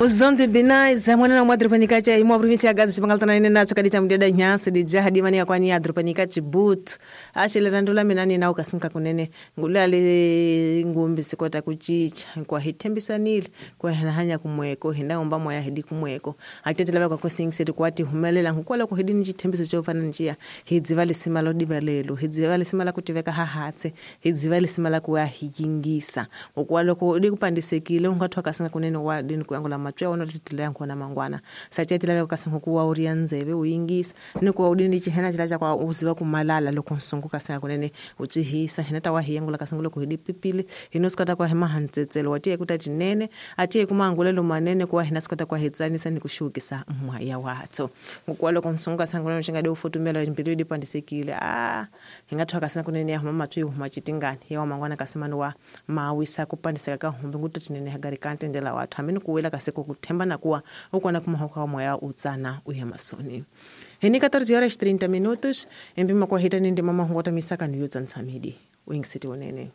Uzonde binais mwana na mwadrupanika cha imwa província ya Gaza chipangaltana ine nacho kadita mudeda nyasi dijaha dimani ya kwani ya drupanika chibutu achilerandula minani na ukasinka kunene ngulale ngumbi sikota kuchicha kwa hitembisanile kwa hanya kumweko hindaomba moya hidi kumweko atetela kwa kwesingise kwati humelela nkukwala kuhidini chithembiso chofana njia hidziva lisima lodiva lelo hidziva lisima la kutiveka hahatse hidziva lisima la kuya hiyingisa ukwaloko dikupandisekile ungathiwa kasinga kunene wa dini kuyangola matswe ono titila yankona mangwana sachetila veka kasinga kuwa uria nzeve uyingisa ni kuwa udini chihena chila chakwa uziva kumalala loko nsungu kasinga kunene uchihisa hina tawa hiyangola kasinga loko hidi pipili hino sikata kwa hema hantsetselo watiye kuta tinene atiye kumangulelo manene kuwa hina sikata kwa hitsanisa ni kushukisa mwaya watso ngukwaloko nsungu kasinga kunene chingade ufutumela mbilu idipandisekile hingathiwa kasinga kunene yahuma matwi huma chitingani yawa mangwana kasimani wa mawisa kupandiseka ka humbi nguto tinene hagarikante ndela wathu hamini kuwela kaseko kuthemba na kuwa ukona kumahoka wa moya utsana uya masoni hini 14 horas 30 minutos empima kwa hita nindi mama hungota misaka ni yutsa ntsamidi wingisiti unene.